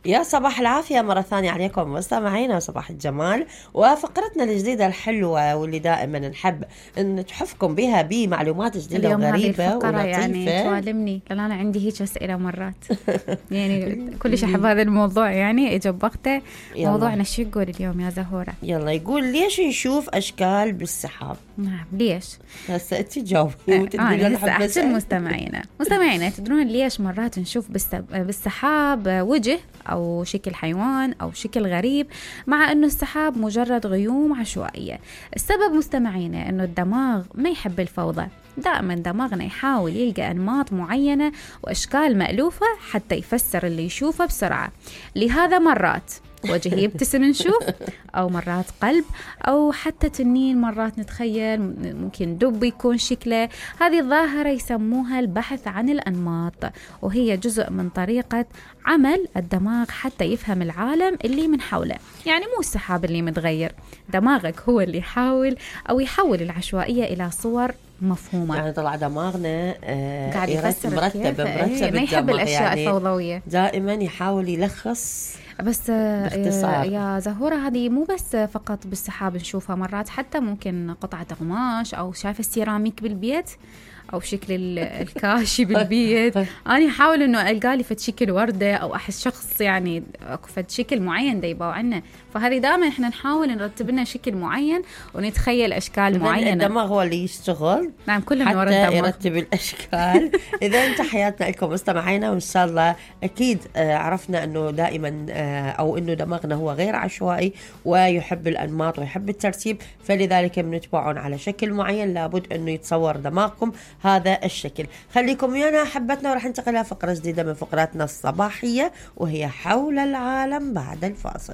يا صباح العافية مرة ثانية عليكم مستمعينا، وصباح الجمال. وفقرتنا الجديدة الحلوة واللي دائما نحب أن نتحفكم بها بمعلومات جديدة اليوم وغريبة هذه الفقرة ولطيفة. يعني توالمني، لأن أنا عندي هيك أسئلة مرات يعني كلش أحب هذا الموضوع، يعني إجا بوقته. موضوعنا شو يقول اليوم يا زهورة؟ يلا يقول ليش نشوف أشكال بالسحاب؟ نعم ليش؟ هسه أنت جاوبي أنا هسه أحسن مستمعينا تدرون ليش مرات نشوف بالسحاب وجه أو شكل حيوان أو شكل غريب، مع أنه السحاب مجرد غيوم عشوائية؟ السبب مستمعينا أنه الدماغ ما يحب الفوضى، دائما دماغنا يحاول يلقى أنماط معينة وأشكال مألوفة حتى يفسر اللي يشوفه بسرعة. لهذا مرات وجه يبتسم نشوف، أو مرات قلب، أو حتى تنين مرات نتخيل ممكن دب يكون شكله. هذه الظاهرة يسموها البحث عن الأنماط، وهي جزء من طريقة عمل الدماغ حتى يفهم العالم اللي من حوله. يعني مو السحاب اللي متغير، دماغك هو اللي يحول العشوائية إلى صور مفهومة. يعني طلع دماغنا قاعد يفسر مرتب ما يحب الأشياء يعني الفوضوية، دائما يحاول يلخص. بس يا زهورة هذه مو بس فقط بالسحاب نشوفها، مرات حتى ممكن قطعة قماش أو شايفة السيراميك بالبيت أو شكل الكاشي بالبيت. أنا أحاول إنه ألقى لي فد شكل وردة أو أحس شخص يعني فد شكل معين دا يباو عنا، فهذه دائما إحنا نحاول نرتب لنا شكل معين ونتخيل أشكال معينة. الدماغ هو اللي يشتغل، نعم كلنا حتى يرتب الأشكال. إذا أنت حياتنا لكم مستمعينا، وإن شاء الله أكيد عرفنا إنه دائما أو إنه دماغنا هو غير عشوائي ويحب الأنماط ويحب الترتيب، فلذلك بنتبعون على شكل معين لابد إنه يتصور دماغكم هذا الشكل. خليكم ويانا حبتنا، ورح ننتقل إلى فقرة جديدة من فقراتنا الصباحية، وهي حول العالم بعد الفاصل.